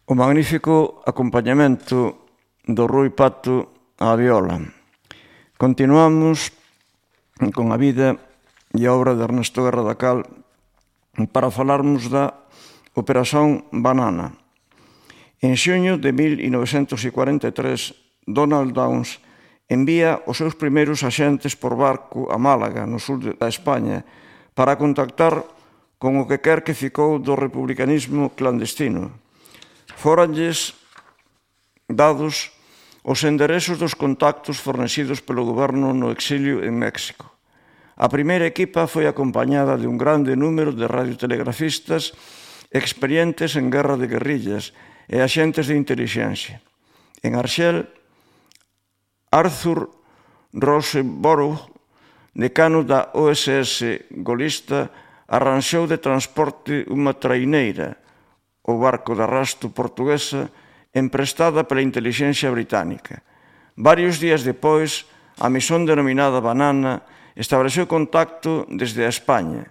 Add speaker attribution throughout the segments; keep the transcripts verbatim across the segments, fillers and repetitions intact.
Speaker 1: O magnífico acompañamento do Rui Pato á viola. Continuamos con a vida e a obra de Ernesto Guerra da Cal para falarmos da Operación Banana. En xuño de mil novecentos cuarenta e tres, Donald Downes envía os seus primeiros axentes por barco a Málaga, no sur da España, para contactar con o que quer que ficou do republicanismo clandestino. Fóranlles dados os enderezos dos contactos fornecidos polo goberno no exilio en México. A primeira equipa foi acompañada de un grande número de radiotelegrafistas experientes en guerra de guerrillas e axentes de intelixencia. En Arxel, Arthur Rosenborough, decano da O S S golista, arranxou de transporte unha traineira, o barco de arrasto portuguesa, emprestada pela intelixencia británica. Varios días depois, a misión denominada Banana estableceu contacto desde a España.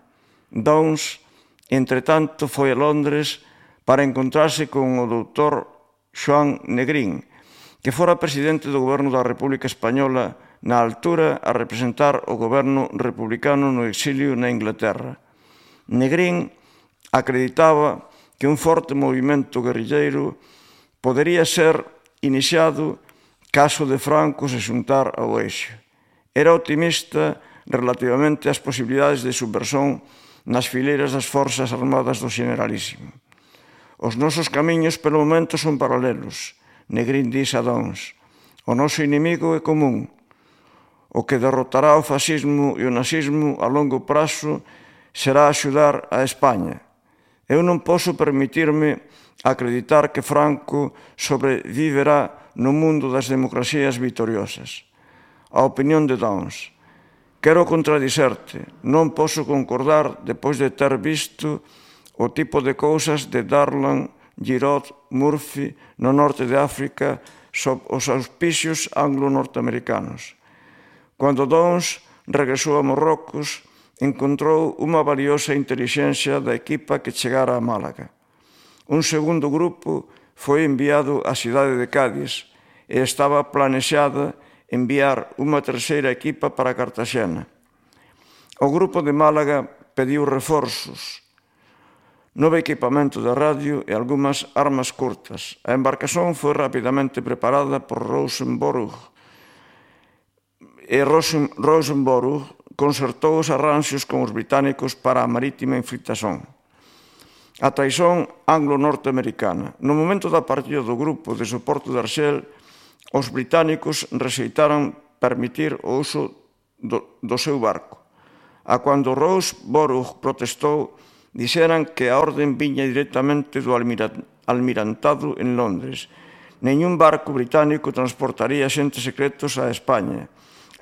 Speaker 1: Downes, entretanto, foi a Londres para encontrarse con o doutor Joan Negrín, que fora presidente do goberno da República Española na altura a representar o goberno republicano no exilio na Inglaterra. Negrín acreditaba que un forte movimento guerrilleiro podería ser iniciado caso de Franco se xuntar ao eixo. Era optimista relativamente ás posibilidades de subversión nas fileiras das forzas armadas do Generalísimo. Os nosos camiños pelo momento son paralelos, Negrín dix a Downes. O noso inimigo é común. O que derrotará o fascismo e o nazismo a longo prazo será axudar a España. Eu non posso permitirme acreditar que Franco sobreviverá no mundo das democracias vitoriosas. A opinión de Downes. Quero contradicerte, non posso concordar depois de ter visto o tipo de cousas de Darlan, Giraud, Murphy no norte de África sob os auspicios anglo-norteamericanos. Cando Downes regresou a Marrocos, encontrou unha valiosa intelixencia da equipa que chegara a Málaga. Un segundo grupo foi enviado á cidade de Cádiz e estaba planexada enviar unha terceira equipa para Cartaxena. O grupo de Málaga pediu reforzos, novo equipamento de radio e algunhas armas curtas. A embarcación foi rapidamente preparada por Rosenborough e Rosenborough concertou os arranxos con os británicos para a marítima infiltración. A traición anglo-norteamericana. No momento da partida do grupo de soporte de Arxel, os británicos rexeitaron permitir o uso do, do seu barco. A cando Rosenborough protestou, dixeran que a orden viña directamente do almirantado en Londres. Neñún barco británico transportaría xentes secretos a España.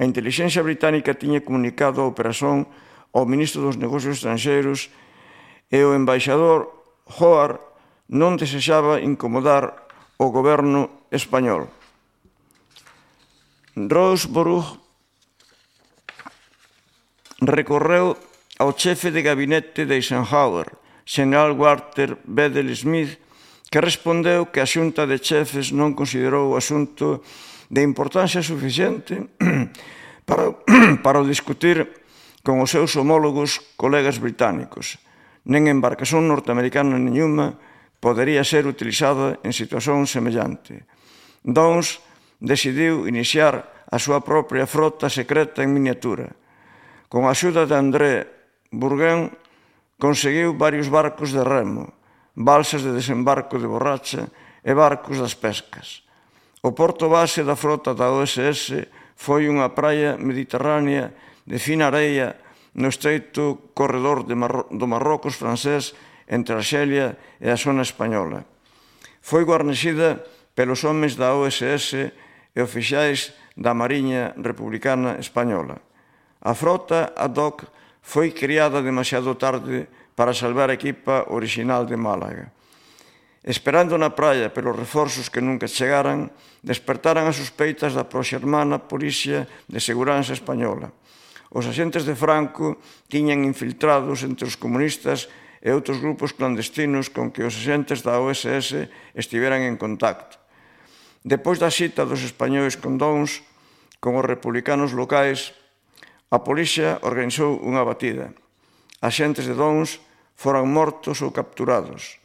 Speaker 1: A intelixencia británica tiña comunicado a operación ao ministro dos Negocios Estranxeiros e o embaixador Howard non desexaba incomodar o goberno español. Rosenborough recorreu ao chefe de gabinete de Eisenhower, xeneral Walter Bedell Smith, que respondeu que a xunta de chefes non considerou o asunto de importancia suficiente para, para o discutir con os seus homólogos colegas británicos. Nen embarcación norteamericana nenhuma podería ser utilizada en situación semellante. Downes decidiu iniciar a súa propia frota secreta en miniatura. Con a axuda de André Bourgain, conseguiu varios barcos de remo, balsas de desembarco de borracha e barcos das pescas. O porto base da frota da O S S foi unha praia mediterránea de fina areia no estreito corredor de Marro- do Marrocos francés entre Arxelia e a zona española. Foi guarnecida pelos homes da O S S e oficiais da Mariña Republicana Española. A frota ad hoc foi criada demasiado tarde para salvar a equipa orixinal de Málaga. Esperando na praia pelos reforzos que nunca chegaran, despertaran as sospeitas da proxermana Polícia de Seguranza Española. Os axentes de Franco tiñan infiltrados entre os comunistas e outros grupos clandestinos con que os axentes da O S S estiveran en contacto. Depois da xita dos españois con Downes, con os republicanos locais, a Polícia organizou unha batida. Axentes de Downes foran mortos ou capturados.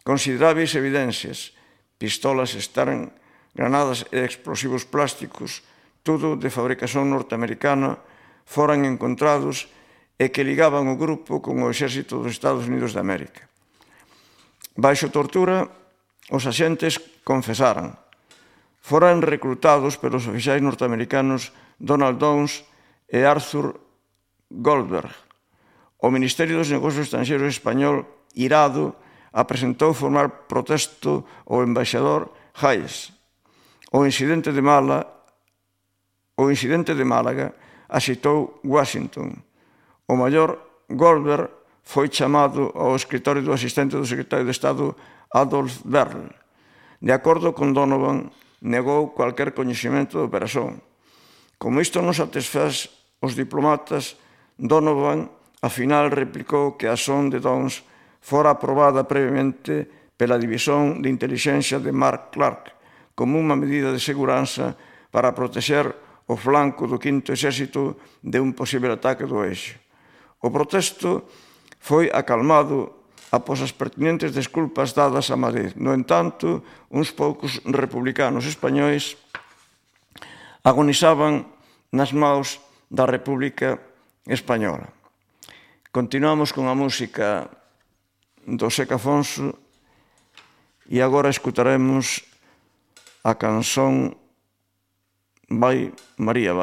Speaker 1: Consideráveis evidencias, pistolas Stern, granadas e explosivos plásticos, tudo de fabricación norteamericana, foran encontrados e que ligaban o grupo con o exército dos Estados Unidos de América. Baixo tortura, os axentes confesaran. Foran recrutados pelos oficiais norteamericanos Donald Downes e Arthur Goldberg. O Ministerio dos Negocios Estranxeiros español, irado, apresentou formar protesto ao embaixador Hayes. O incidente de Málaga, o incidente de Málaga axitou Washington. O maior Goldberg foi chamado ao escritorio do asistente do secretario de Estado Adolf Berle. De acordo con Donovan, negou cualquier coñecemento da operación. Como isto non satisfaz os diplomatas, Donovan, ao final, replicou que a acción de Downes fora aprobada previamente pela División de Intelixencia de Mark Clark como unha medida de seguranza para protexer o flanco do quinto exército de un posible ataque do eixo. O protesto foi acalmado após as pertinentes desculpas dadas a Madrid. No entanto, uns poucos republicanos españois agonizaban nas maus da República Española. Continuamos con a música do Seca Afonso e agora escutaremos a canción Vai María Vai.